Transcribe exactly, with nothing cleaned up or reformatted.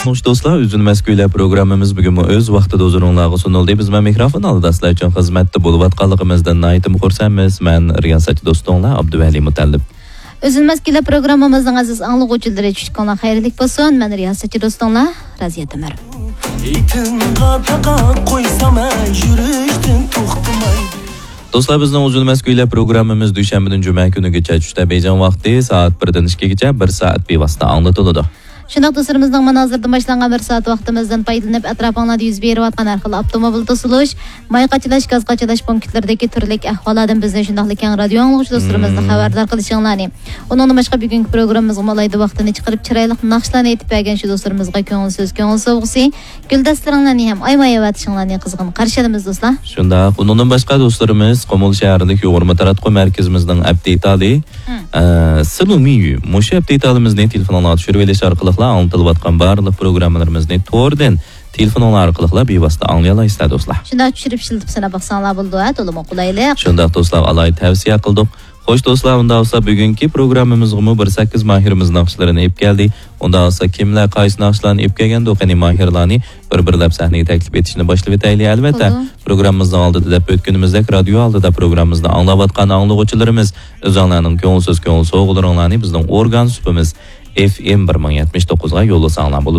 خوش دوستلار، ئۈزۈلمەس كۈيلەر پروگراممىمىز بۈگۈنمۇ ئۆز ۋاقتىدا ھۇزۇرۇڭلارغا سۇنۇلدى. بىز مەن مىكروفون ئالدىدا سىلەر ئۈچۈن خىزمەتتە بولۇۋاتقانلىقىمىزدىن ناھايىتىمۇ خۇرسەنمىز. مەن رىياسەتچى دوستۇڭلار ئابدۇۋەلى مۇتەللىپ. ئۈزۈلمەس كۈيلەر پروگراممىمىزنىڭ ئەزىز ئاڭلىغۇچىلىرى، چۈشلۈكۈڭلار خەيرلىك بولسۇن. مەن رىياسەتچى دوستۇڭلار رازىيەت ئۆمەر. ئېتىڭغا تاقا قويسام، يۈرۈشتىن توختىمايدۇ. دوستلار، بىزنىڭ ئۈزۈلمەس كۈيلەر پروگراممىمىز دۈشەنبىدىن جۈمە كۈنىگىچە چۈشتە بېيجىڭ ۋاقتى سائەت بىردىن ئىككىگىچە بىر سائەت بىۋاسىتە ئاڭلىتىلىدۇ. شۇنداق دوستلىرىمىزنىڭ مانا ھازىردىن باشلانغان بىر سائەت ۋاقتىمىزدىن پايدىلىنىپ، ئەتراپىڭلاردا يۈز بېرىۋاتقان ھەر خىل ئاپتوموبىل توسۇلۇش، ماي قاچىلاش، گاز قاچىلاش پونكىتلىرىدىكى تۈرلۈك ئەھۋاللاردىن بىزنى شۇنداقلا كەڭ رادىيو ئاڭلىغۇچى دوستلىرىمىزنى مم. خەۋەردار قىلىشىڭلارنى، ئۇنىڭدىن باشقا بۈگۈنكى پروگراممىمىزغىمۇ ئالاھىدە ۋاقتىنى چىقىرىپ، چىرايلىق ناخشىلارنى ئېيتىپ بەرگەن شۇ دوستلىرىمىزغا كۆڭۈل سۆز، كۆڭۈل سوۋغىسى، گۈلدەستىلىرىڭلارنى ھەم ئايىماي ئەۋەتىشىڭلارنى قىزغىن قارشى ئالىمىز، دوستلار. شۇنداق، ئۇنىڭدىن باشقا دوستلىرىمىز قۇمۇل شەھەرلىك يۇغۇرما تاراتقۇ مەركىزىمىزنىڭ ئەپ دېتالى، مم. ئە، سىلۇمىيۈ، مۇشۇ ئەپ دېتالىمىزنى تېلېفونۇڭلارغا چۈشۈرۈۋېلىش ئارقىلىقلا ئاڭلىتىلىۋاتقان بارلىق پروگراممىلىرىمىزنى توردىن تېلېفونۇڭلار ئارقىلىقلا بىۋاسىتە ئاڭلىيالايسىلەر، دوستلار. شۇنداق، چۈشۈرۈپ ئىشلىتىپ سىناپ باقساڭلار بولىدۇ، ھە، تولىمۇ قولايلىق. شۇنداق، دوستلار، ئالاھىدە تەۋسىيە قىلدۇق. خوش، دوستلار، ئۇنداق بولسا بۈگۈنكى پروگراممىمىزغىمۇ بىر سەككىز ماھىرىمىز ناخشىلىرىنى ئېلىپ كەلدى. ئۇنداق بولسا كىملەر قايسى ناخشىلارنى ئېلىپ كەلگەندۇ؟ قېنى، ماھىرلارنى بىر-بىرلەپ سەھنىگە تەكلىپ ئېتىشنى باشلىۋېتەيلى. ئەلۋەتتە، بولىدۇ. پروگراممىمىزنىڭ ئالدىدا دەپ ئۆتكىنىمىزدەك، رادىيو ئالدىدا پروگراممىمىزنى ئاڭلاۋاتقان ئاڭلىغۇچىلىرىمىز، ئۆزۈڭلارنىڭ كۆڭۈل سۆز، كۆڭۈل سوۋغىلىرىڭلارنى بىزنىڭ ئورگان سۇپىمىز ئېف ئېم بىر مىڭ يەتمىش توققۇزغا يوللىساڭلار بولىدۇ.